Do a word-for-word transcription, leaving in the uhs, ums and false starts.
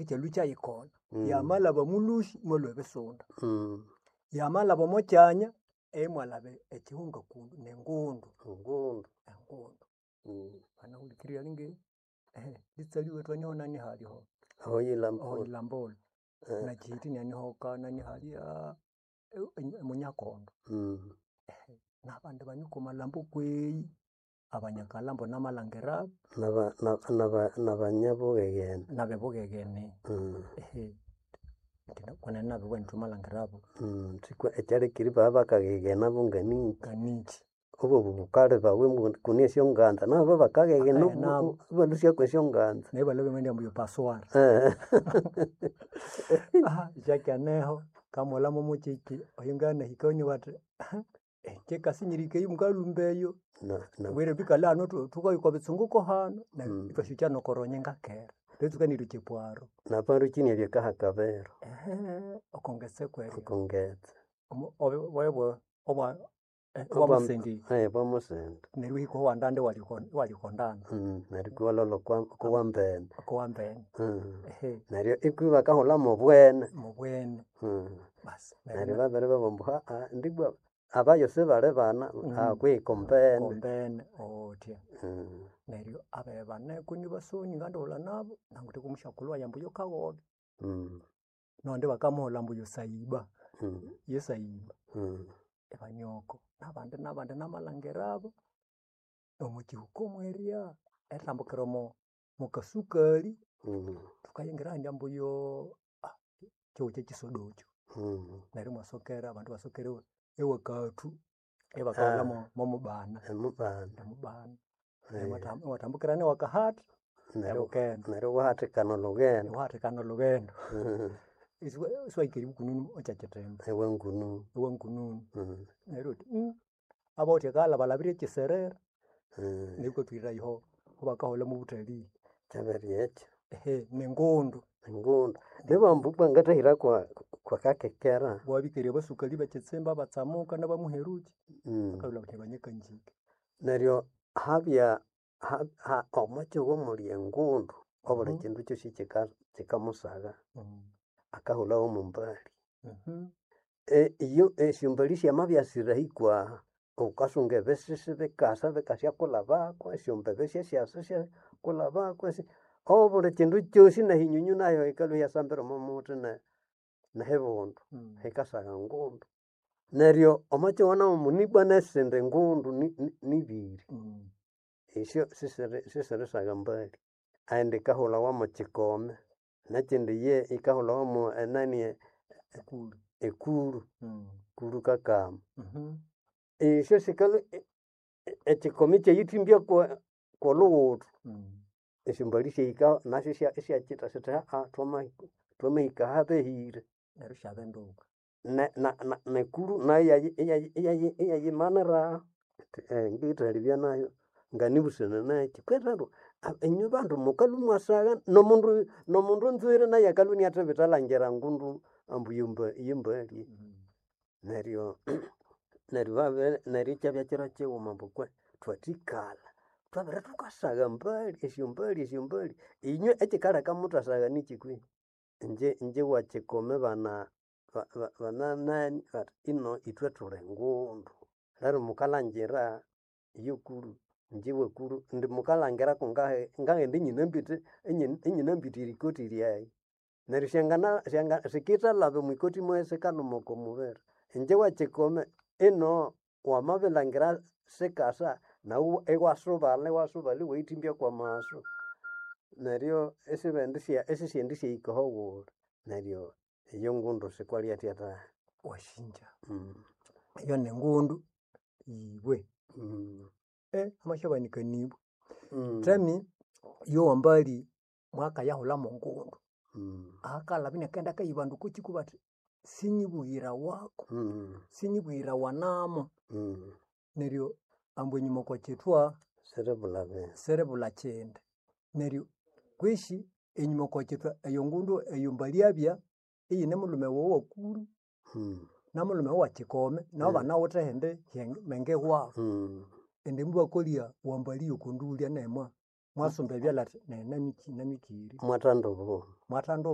Ekyalũ kyayikona. Mm. Yamalhaba omulhusi imwalhua ebisunda. Mm. Yamalhaba omo kyanya imwalhaba ekihunga kundu nengundu. Engundu. Engundu. Mm. Banahulikirira alinge litsali wethu aniho nani haliho Ahoyilambula. Ahoyilambula. Eh. Nakihiti inaniho kanani halya emunyakondo. Mm. Nabandi banywa amalhambo kweyi, abanyakalhambo namalhangirabu. Naba- naba- nabanyabugheghene. Nabibughegene. Mm. Kwenene nabibugha indi thumalhangirabu. Mm. Sikwa ekyalekire ibabya bakaghegena bo nganiki. Nganiki. Obobu bukali bawe kune esyonganza nabo bakaghegena Bakaghegena ibalhusyaku esyonganza. Neryo ibalhabya ambu eyo passoir. Isyakeneho wukamughulha mwomukyekyi oyunganahika bathi kyikasinyirika eyo mukalhumba eyo. Na- na Mbwire thwikale hanu thukaya okobitsunguko hanu neryo Mm. ithwasukya nokorunyinga kera twatsuka nerilhwa epwaro. Naparukyi inabya kahakabero. Okongetse kweryo. Okongetse. Omo obwa obwamusindi. Obwamusindi. Neryo iwahika owandanda iwalya okondanda. Neryo iwalholha okowambene. Okowambene. Neryo ikwi bakahulha mobwene. Mobwene. Basi Neryo babiribabugha ambu ndibwa abayo sibali bana kwihi kombene. Kombene uthya. Neryo abibi baneko inibasoni ngandighulha nabo nangawithe kwomusyakulhu wayi ambu yokaghobe. Nondi bakamughulha ambu yosaiba, yesaiba. Ibanioko nabandi nabandi namalhangirabo omwakihuka mwerya erithambukira omo mokasukali thukayingira ahandi ambu yoo kyihugho kyekisodo ekyo. Neryo imwasokera abandu ibasokera ewakathu ibakahulha momubana. Emubana. Emubana. Iwathambukira newakahatha Neryo ebukende. neryo iwahathikana olhughendo. Iwahathikana olhughendo. Isiwahika eribya ekyakitimba. Ewangununu. Ewangununu. Neryo iwabugha wuthi abawithe akalha balhabire ekiserera neryo ikwatwira aho bakahulha mobutalii. Kyabirya ekyo. Nengundu. Engundu. Nibambu ibwa ngathahira kwa kwakakekera. Iwabya abasukali bekitsimba abatsamuka nabamuherukyi bakalhwa bathi banyakanjike. Neryo habya omwakyihugho omuli engundu obuli kyindu kyosi kyika kyikamusagha akahulhawo mwombali. Iyo esyombali syamabya sirahi kwaha wukasunga ebisisi bikasa bikasyakulhabako esyombebe syasyasa isyakulhabako obuli kyindu kyosi nehinyunyu nayo yikalhwa iyasambira omomuthi nehibundu hikasagha engundu. Neryo omwakyihugho namu ibwa nesindi ngundu nibiri esyo sisiri sisirisagha embali. Eyindi yikahulawa mokyikome nekyindi iye yikahulawa mo enani ekuru, kuru kakama. Esyo sikalhwa ekyikomi ikyayithimbya kwolhughuthu esyombali syahikaho nasyo isyakyitha syithi twamahika ahabehire. Neryo isyabinduka. Ne- na- nekuru nayo iyayi iyayimaniraho ngithalibya nayo nganibusana nakyi kwenene inywe bandu mukalhwa imwasagha nomundu nomundu anzwire nayu akalhwa iniathibitha alangira engundu ambu yembali. Neryo neryo babere neryo ikyabya kiro kighuma ambu kwe thwathikalha thwabere thukasagha embali esyombali esyombali inywe ekyikaleka muthasagha nikyi kwehi? Ingye ingye wakyikome bana bananani bathi ino ithwe thuli ngundu. Neryo mukalhangira yekuru ingye wekuru indi mukalhangira kungahi ngaghenda inyinambite inyinambite erikoti lyayi. Neryo syangana sikithalhaba omwikoti mwayi sikalhuma oko mubiri. Ingye wakyikome ino wamabilhangira sikasa nawu iwasubalha iwasubalha iwayithimbya kwamasu. Neryo isibendi isisyendisyahika ahawuli. Neryo eyo ngundu sikwalyathya thahi. Wasinja eyo ningundu ibwe. Hamasyabanika nibwa. Thami yowambali mwakayahulha mongundu. Akalhabya inakaghenda akayibanda okwakyiko bathi sinyibughirawaku, sinyibughirawanamo. Neryo ambu enyuma okwakyithwa Siribulha bindu. siribulha kyindu. Neryo kwisi enyuma okwakyithwa eyongundu eyombali abya iyine mulhume wawu owakuru namulhume wawu owakyikome nabo ibanawithe ehindi menge wabu. Indi mubakolya wambali yokondulya nemwa Mwasumba ebyalha athi nayi namikiri Mwathanda obo. Mwathanda